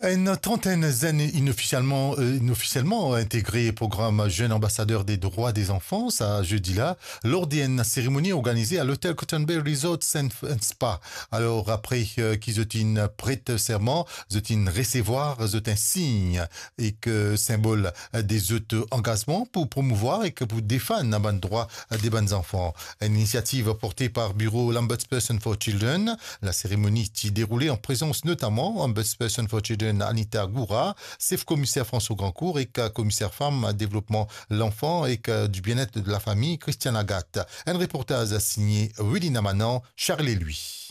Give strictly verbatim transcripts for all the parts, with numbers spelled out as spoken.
Enn trantenn zenn inofisielman, euh, inofisielman integre program Jeune Ambassadeur des Droits des Enfants, sa zedi la, lor de enn seremoni organize a lotel Cotton Bay Resort and Spa. Alor, apre, euh, ki zot inn pret serman, zot inn resevwar zot enn sign ek, euh, sinbol, euh, de zot angazman pou promouvwar ek pou defann bann drwa, euh, de bann zanfan. Enn inisiativ porte par biro Ombudsperson for Children. Laseremoni ti deroule an prezans notaman Ombudsperson for Children Anita Goura, sef komiser François Grandcourt ek komiser fam, devlopman lanfan ek, euh, du bien-être de la famille Christiane Agathe. Enn reportaz signe Wilina Manan, Charles Louis.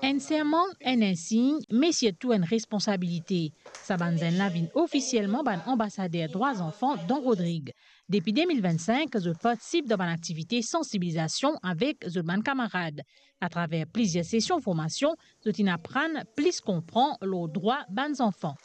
Enn serman, enn insign, me sirtou enn responsabilite. Sa bann zenn la vinn ofisielman bann anbasader drwa zanfan dan Rodrig. Depi de mil vennsink, zot partisip dan bann aktivite sansibilizasion avek zot bann kamarad. Atraver plizier sesion formasion, zot inn aprann plis konpran lor drwa bann zanfan.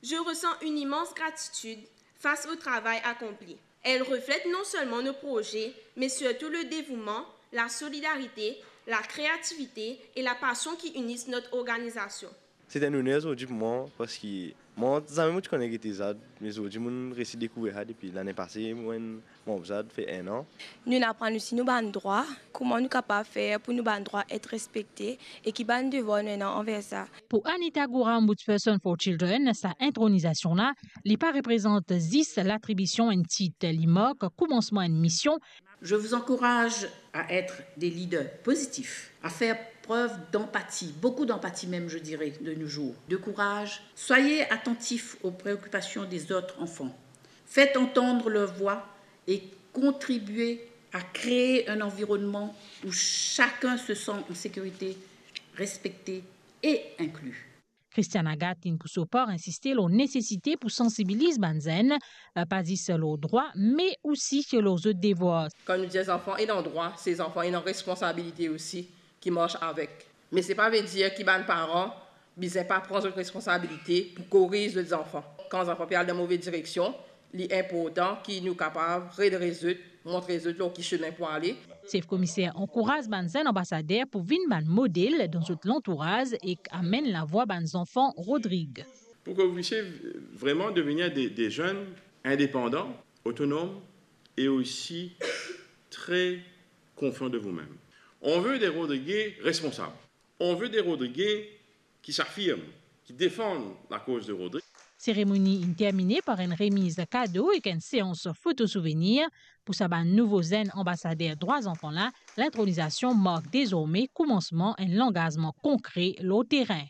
Je ressens une immense gratitude face au travail accompli. Elle reflète non seulement nos projets, mais surtout le dévouement, la solidarité, la créativité et la passion qui unissent notre organisation. Se enn oner zordi pou mwa, parski mwa zame mo ti kone gete ZAD, me zordi mo resi dekouver ZAD, epi lane pase, mo enn manb ZAD, fer enn an. Nou'nn aprann osi nou bann drwa, kouma nou kapav fer pou nou bann drwa et respekte, e ki bann devwar nou ena anver sa. Pou Anita Goura, Ombudsperson for Children, sa intronizasion la, li pa reprezant zis latribision enn tit, li mark koumansman enn mision. Je vous encourage à être des leaders positifs, à faire preuve d'empathie, beaucoup d'empathie même, je dirais, de nos jours, de courage. Soyez attentifs aux préoccupations des autres enfants. Faites entendre leur voix et contribuez à créer un environnement où chacun se sent en sécurité, respecté et inclus. Christiane Agathe inn pou so par insiste lor nesesite pou sansibiliz bann zenn, eh, pa zis lor drwa, me osi lor zot devwar. Kan nou dir zanfan ena drwa, se zanfan ena responsabilite osi ki mars avek. Me se pa ve dir ki bann paran bizin pa pran zot responsabilite pou koriz zot zanfan. Kan zanfan pe al dan move direksion, li inportan ki nou kapav redres zot, montre zot lor ki semin pou ale. Sef komiser ankouraz bann zenn anbasader pou vinn bann model dan zot lantouraz ek amenn lavwa bann zanfan Rodrig. Pour que vous puissiez vraiment devenir des, des jeunes indépendants, autonomes et aussi très confiants de vous-même. On veut des Rodriguais responsables. On veut des Rodriguais qui s'affirment, qui défendent la cause de Rodrigue. Seremoni inn termine par enn remiz kado ek enn seans foto souvenir. Pou sa bann nouvo zenn anbasader drwa zanfan la, lintronizasion mark dezorme koumansman enn langazman konkre lor terin.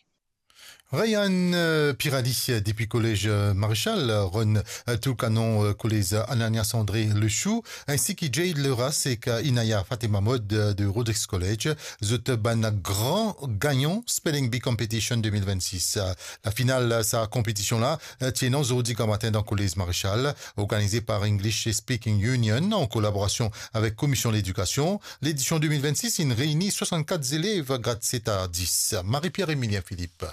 Ryan, euh, Pirali, euh, depi Kolez, euh, Marechal, euh, Ron, euh, Toulkanon, euh, Kolez, euh, Ananias André Le Chou, ainsi ki Jade Leras ek, euh, Inaya Fatima Mod, euh, de Rodrigues College, zot bann gran gagnan Spelling Bee Competition de mil vennsis. Euh, lafinal, euh, sa konpetision la, euh, ti ena zordi gramatin dan Kolez Marechal, organize par English Speaking Union an kolaborasion avek Komisyon Ledikasion. Ledision de mil vennsis inn reyni swasannkat zelev grad set a dis. Marie-Pierre Emilien Philippe.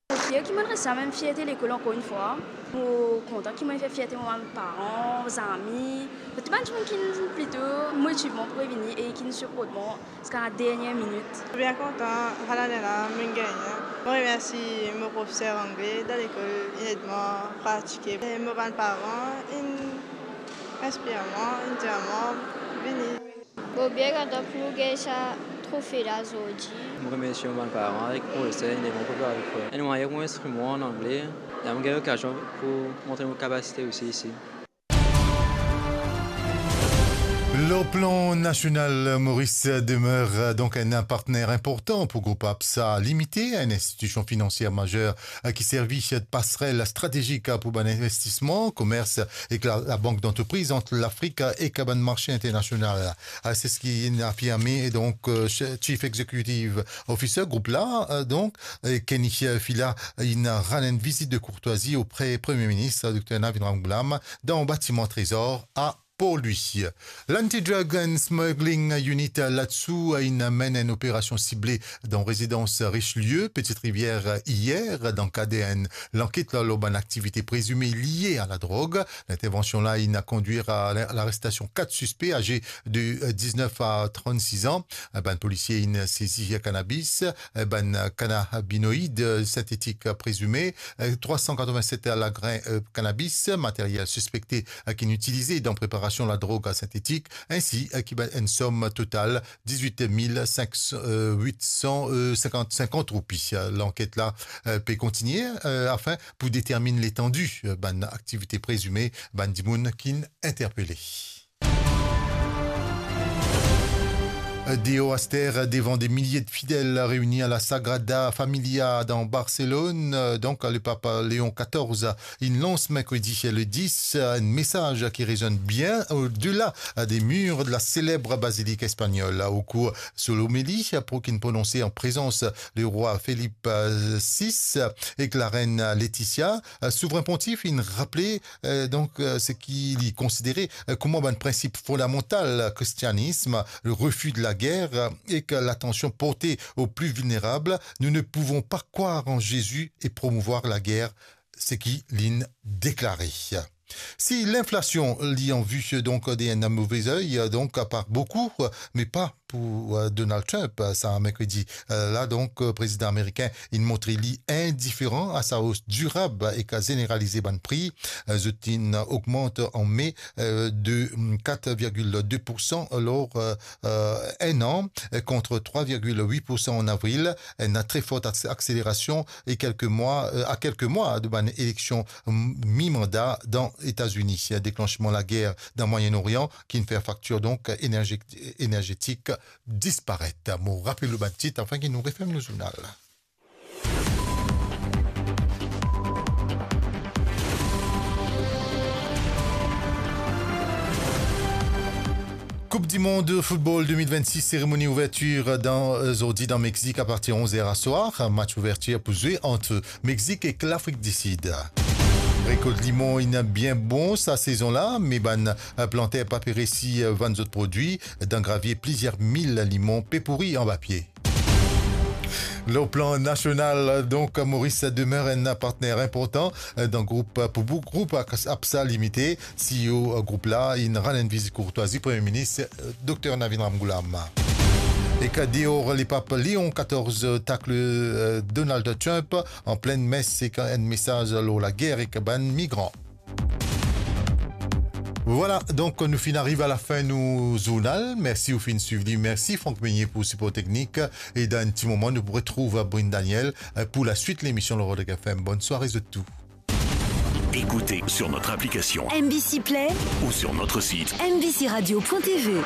Fier ki mo'nn res sa, mem fierte lekol ankor enn fwa. Mo kontan ki mo'nn fer fierte mo bann paran, zami, tou bann dimoun ki inn plito motiv mwa pou vini e ki inn siport mwa ziska la dernie minit. Bien kontan, sa lane la mo'nn gagne. Mo remersi mo profeser angle dan lekol, inn ed mwa pratike. E mo bann paran inn inspir mwa, inn dir mwa vini. Mo bien kontan pou nou gagn sa trofe la zordi. Mo remersi mo bann paran ek profeser, inn ed mwa pou prepare lekol. Enn mwayin ek mo instriman an angle, e mo gagn lokazion pou montre mo kapasite osi isi. Lor plan nasional, Moris demeure, euh, donk enn partener inportan pou group ABSA Limité, enn institision finansier mazer, euh, ki servi de pasrel stratezik, euh, pou bann investisman, komers ek la, labank dantrepriz ant Lafrik ek bann marse internasional. Euh, se seki inn afirme, e donk, euh, Chief Executive Officer group la, euh, donk, euh, Kenny Fila, inn rann enn vizit de kourtwazi opre Premie Minis, euh, Dokter Navin Ramgoolam, dan batiman Trezor a pou li. L'Anti-Drug and Smuggling Unit, l'ADSU, inn menn enn operasion sible dan rezidans Richelieu, Petite Rivière, iyer, dan kad enn lanket la lor bann aktivite prezime lie a ladrog. Lintervansion la inn kondwir a la-, larestasion kat sispe aze de, euh, diznef a trannsis an. Bann polisie inn sezi kanabis, bann kanabinoid sintetik prezime, trwa san katrovin-set lagrin, euh, kanabis, materyel sispekte, euh, ki'nn itilize dan preparasion ladrog sintetik, ensi, euh, ki bann enn som total dizwit mil sink san, euh, wit san, euh, sinkant, sinkant roupi. Lanket la, euh, pe kontigne, euh, afin pou determinn letandi, euh, bann aktivite prezime bann dimoun ki'nn interpele. Deor aster, devan de milie de fidel reini a la Sagrada Familia dan Barselone, donk, le papa Leon katorz inn lans merkredi le dis enn mesaz ki rezonn bien odela de mir de la seleb bazilik espagnol. Okour so lomeli, pou ki'nn prononse an prezans lerwa Philippe, euh, sis ek larenn Laetitia, euh, Souvren Pontif inn raple, euh, donk, euh, seki li konsidere, euh, kouma bann prinsip fondamantal kristianism, le refus de la guerre, euh, ek latansion porte aux plus vulnérables. Nous ne pouvons pas croire en Jésus et promouvoir la guerre, seki li'nn deklare. Si linflasion li an vi, donk, de enn move oey, donk, par boukou, me pa pou, euh, Donald Trump, euh, sa merkredi, euh, la, donk, euh, prezidan amerikin inn montre li indiferan a sa os dirab ek zeneralize bann pri. Euh, zot inn ogmant an me, euh, de, mm, kat virgil de pou san lor, euh, euh, enn an, euh, kont trwa virgil wit pou san an avril. Enn tre fort akse-, akselerasion e kelke mwa, euh, a kelke mwa de bann eleksion, mm, mi-manda dan Etazini. Deklansman lager dan Mwayen Orian ki'nn fer faktir, donk, enerje-, enerzetik disparet. Mo rapel ou bann tit, anfin ki nou referm nou zournal. Koup di Mond football de mil vennsis, seremoni ouvertir dan, euh, zordi dan Mexik apartir onz er aswar. Match ouvertir pou zwe ant Mexik ek Lafrik di Sid. Rekolt limon inn bien bon sa sezon la, me bann, euh, planter pa pe resi, euh, vann zot prodwi, dan gravie plizier mil limon pe pouri anba pie. Lor plan nasional, donk, Maurice demeure enn partner inportan, euh, dan group, pou bou-, group Ak-, APSA Limite. C E O group la inn rann enn vizit kourtwazi Premie Minis, euh, Dokter Navin Ramgoolam. Ek deor, lepap Leon katorz takl, euh, Donald Trump an plin mes ek enn mesaz lor lager ek bann migran. Vwala, donk, nou finn ariv a lafin nou zournal. Mersi ou finn swiv li. Mersi Franck Meunier pou sipor teknik. E dan enn ti moman, nou pou retrouv Brune Daniel, euh, pou laswit lemision lor Rodrigue F M. Bonn sware zot tou. Écoutez sur notre application M B C Play ou sur notre site M B C radio point T V.